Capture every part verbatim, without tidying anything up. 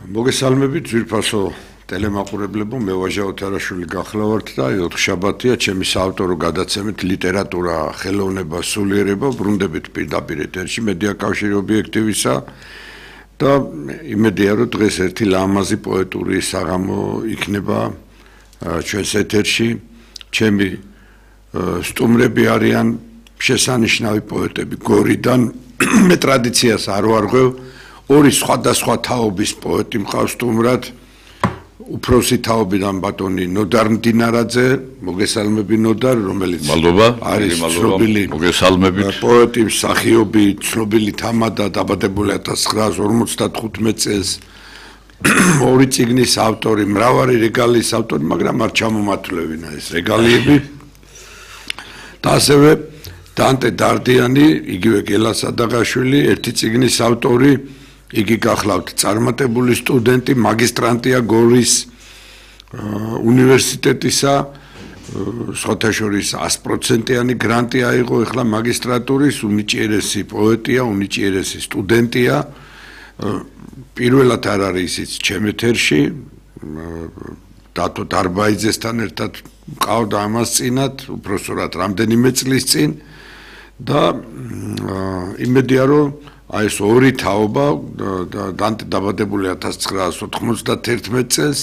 მოგესალმებით ძვირფასო ტელემაყურებლებო, მე ვაჟა ოთარაშვილი გახლავართ და ოთხშაბათია ჩემი საავტორო გადაცემით ლიტერატურა, ხელოვნება, სულიერება ბრუნდებით პირდაპირ ეთერში მედია კავშირი ობიექტივისა და იმედია რომ დღეს ერთი ლამაზი პოეტური საღამო იქნება ჩვენს ეთერში. ჩემი სტუმრები არიან შესანიშნავი პოეტები გორიდან. მე ტრადიციას არ ვარღვევ. ორი სხვადასხვა თაობის პოეტი მყავს სტუმრად. უფროსი თაობიდან ბატონი ნოდარ მდინარაძე, მოგესალმები ნოდარ, რომელიც არის ცნობილი პოეტი, მსახიობი, ცნობილი თამადა, დაბადებული ათას ცხრაას ორმოცდათხუთმეტ წელს. ორი წიგნის ავტორი, მრავალი რეგალიის ავტორი, მაგრამ არ ჩამომათვლევინა ეს რეგალიები. და ასევე დანტე დარდიანი, იგივე გელა სადაღაშვილი, ერთი წიგნის ავტორი. იგი გახლავთ წარმატებული სტუდენტი, მაგისტრანტია გორის უნივერსიტეტისა, სხვათა შორის ას პროცენტიანი გრანტი აიღო ეხლა მაგისტრატურის, უნიჭიერესი პოეტია, უნიჭიერესი სტუდენტია. პირველად არ არის ისიც ჩემ ეთერში, დათო დარბაიძესთან ერთად მყავდა ამას წინათ, უბრალოდ რამდენიმე წლის წინ და იმედია რომ აი ეს ორი თაობა დანტე დაბადებული ათას ცხრაას ოთხმოცდათერთმეტ წელს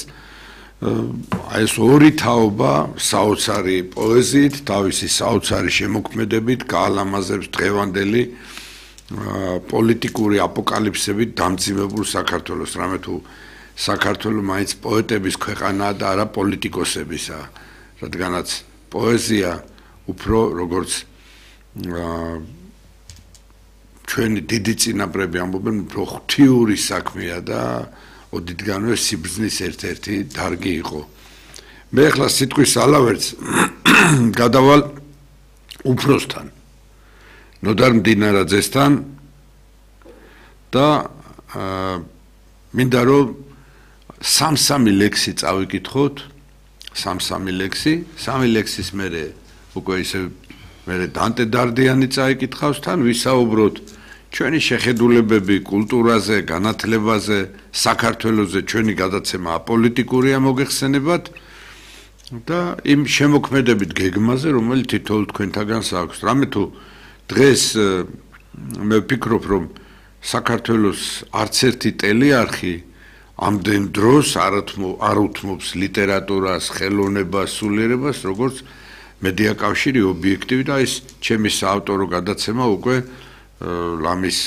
აი ეს ორი თაობა საოცარი პოეზიით, თავისი საოცარი შემოქმედებით გაალამაზებს დღევანდელი პოლიტიკური აპოკალიფსებით დამძიმებულ საქართველოს. რამე თუ საქართველო მაინც პოეტების ქვეყანაა და არა პოლიტიკოსებისა, რადგანაც პოეზია უფრო როგორც ჩვენი დიდი წინაპრები ამბობენ, უფრო ღვთიური საქმეა და ოდითგანვე სიბრძნის ერთ-ერთი დარგი იყო. მე ახლა სიტყვის ალავერts გადავალ უფროსთან, ნოდარ მდინარაძესთან და მინდა რომ სამ-სამი ლექსი წავიკითხოთ, სამ-სამი ლექსი, სამი ლექსის მერე უკვე ისე მე დანტე დარდიანი წაიკითხავს, თან ვისაუბროთ ჩვენი შეხედულებები კულტურაზე, განათლებაზე, საქართველოზე. ჩვენი გადაცემა აპოლიტიკურია მოგეხსენებათ და იმ შემოქმედებით გეგმაზე, რომელიც თითოეულ თქვენთაგანს აქვს. რამე თუ დღეს მე ვფიქრობ, რომ საქართველოს არც ერთი ტელეარხი ამდენ დროს არ უთმობს ლიტერატურას, ხელოვნებას, სულიერებას, როგორც მედია კავშირი ობიექტივი და ეს ჩემი საავტორო გადაცემა უკვე ლამის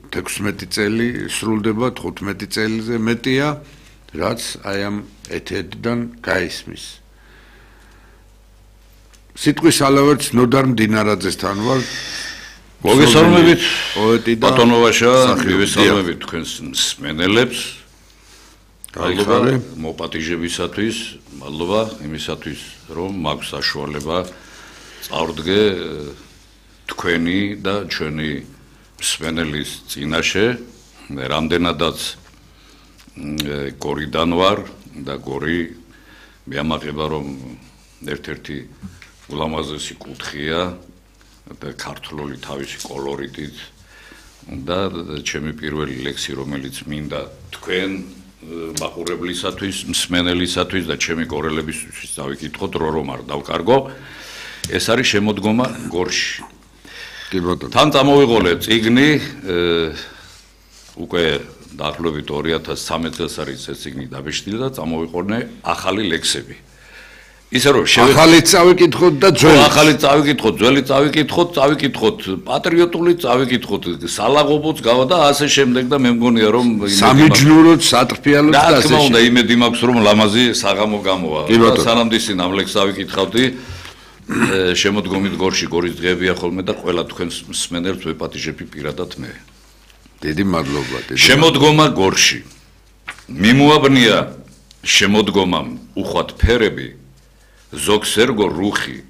თექვსმეტი წელი სრულდება, თხუთმეტი წელზე მეტია, რაც აი ამ ეთერიდან გაისმის. სიტყვის ალავერts ნოდარ მდინარაძესთან ვარ. მოგესალმებით პოეტი და ბატონო ვაშა, მივესალმებით თქვენს მსმენელებს. მადლობა მოპატიჟებისათვის, მადლობა იმისათვის, რომ მაქვს საშუალება წავდგე თქვენი და ჩვენი მსმენელის წინაშე. მე რამდენადაც გორიდან ვარ და გორი მეამაყება, რომ ერთ-ერთი ულამაზესი კუთხეა და ქართლული თავისი კოლორიტით და ჩემი პირველი ლექსი, რომელიც მინდა თქვენ მაყურებლისათვის, მსმენელისათვის და ჩემი გორელებისთვის დავიკითხოთ, რო რომ არ დავკარგო. ეს არის შემოდგომა გორში. კი ბატონო. თან წამოვიყოლე წიგნი, უკვე დაახლოებით ორი ათას ცხრამეტ წელს არის ეს წიგნი დაბეჭდილი და წამოვიყოლე ახალი ლექსები. ისე რომ ახალი წავიკითხოთ და ძველი. ახალი წავიკითხოთ, ძველი წავიკითხოთ, წავიკითხოთ, პატრიოტული წავიკითხოთ, სალაღობოც გავა და ასე შემდეგ და მე მგონია რომ სამიჯნუროთ, სატრფიალოთ და ასე. რა თქმა უნდა, იმედი მაქვს რომ ლამაზი საღამო გამოვა. სანამ ისინი ამ ლექსს ავიკითხავდი, შემოდგომით გორში, გორის დღეებია ხოლმე და ყველა თქვენს მსმენელს ვეპატიჟები პირადად მე. დიდი მადლობა. შემოდგომა გორში. მიმოაბნია შემოდგომამ უხვად ფერები, ზოგს ერგო რუხი,